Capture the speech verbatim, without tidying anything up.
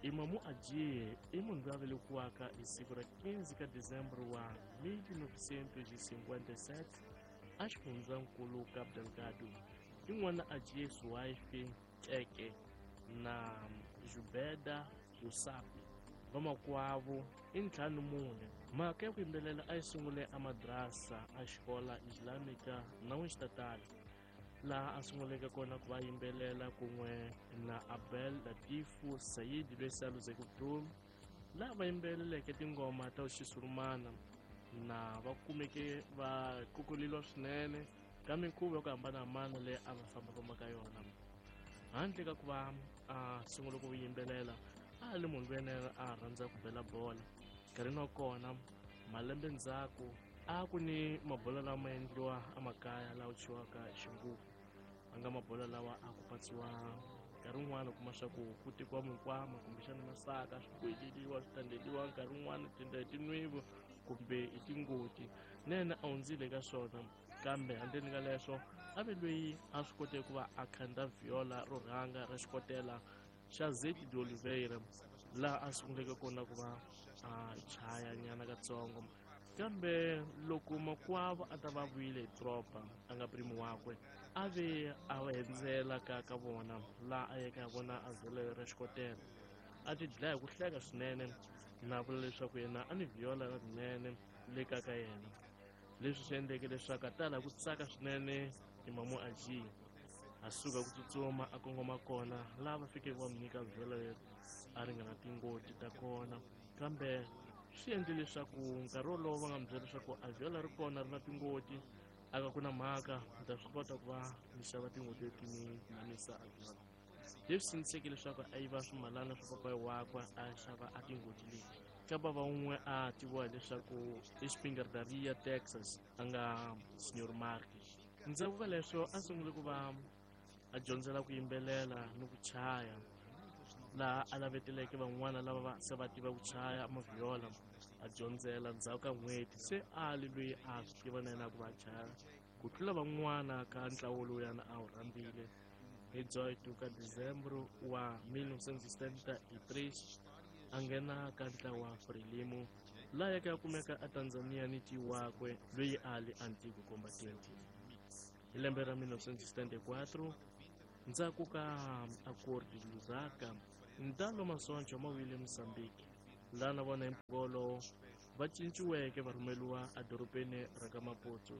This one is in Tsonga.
Imamu Adjie i munhu loyi a velekiwaka hi siku ra quinze ka Dezembro wa mil novecentos e cinquenta e sete a xifundzankulu Cabo Delgado. I n'wana Adjie Suaife Teke na Jubeda Yusapi. Vamakwavo i ntlhanu mune. Mhaka ya ku yimbelela a yi sungule a madrasa a xikola Islamica na Xitatali, laha a sunguleke kona ku va yimbelela kun'we na Abel Latifu Said loyi se a luzeke vutomi, laha va yimbeleleke tingoma ta xisurumana na va kumeke va kukuleliwa swinene ka minkhuvo ya ku hambanahambana leyi a va fambafamba ka yona. Handle ka ku va a sungula ku yimbelela, a li munhu loyi a rhandza ku bela bola. Nkarhini wa kona malembe ndzhaku a ku ni mabola lama endliwa emakaya lawa thyiwaka xinguku, a nga mabola lawa a ku patsiwa nkarhi wun'wani u kuma swa ku ku tekiwa minkwama kumbexana masaka swi boheleriwa swi tandeliwa, nkarhi wun'wani ti endla hi tinwivu kumbe hi tingoti. Na yena a hundzile ka swona, kambe handleni ka leswo a ve loyi a swi koteke ku va a khandza viola ro rhanga ra xikotela xa Zeti de Oliveira, laha a sunguleke kona ku va a chaya nyana katsongo. Kambe loko makwavo a ta va vuyile hi doroba a nga primo wakwe, a ve a va endzela ka ka vona, laha a yeke a vona a viola ra xikotela, a ti dlaya hi ku hleka swinene na vula leswaku yena a ni viola rinene le ka ka yena. Leswi swi endleke leswaku a tala ku tsaka swinene Imamu Adjie, a suka ku tsutsuma a kongoma kona laha va fikeke va n'wi nyika viola leri a ri nga na tingoti ta kona. Kambe swi endle leswaku nkarhi wolowo va nga n'wi byela leswaku a viola ri kona ri na tingoti, a ka ku na mhaka ni ta swi kota ku va ni xava tingoti leti ni namisa a viola. Leswi sindziseke leswaku a yiva swimalana swa papayi wakwe a xava a tingoti leti. Ka bava wun'we a tiviwa hileswaku i Spingardaria Texas, a nga Senhor Marques. Ndzhaku ka leswo a sungule ku va a dyondzela ku yimbelela ni ku chaya, laha a laveteleke van'wana lava va se va tiva ku chaya maviola, a dyondzela. Ndzhaku ka n'hweti se a li loyi a swi tiva na yena ku va chaya ku tlula van'wana ka ntlawa lowuyana a wu rhambile. Hi dezoito ka Dezembro wa mil novecentos e setenta e três a nghena ka ntlawa Frelimo, laha yaka ya kumeka a Tanzania ni ti wakwe loyi a li Antigo Combatente. Hi lembe ra mil novecentos e setenta e quatro, ndzhaku ka Acordo de Lusaka, ntalo masoncho ma wile Mozambique, laha na vona hi mpfhuka wolowo va cinciweke va rhumeliwa edorobeni ra ka Maputo.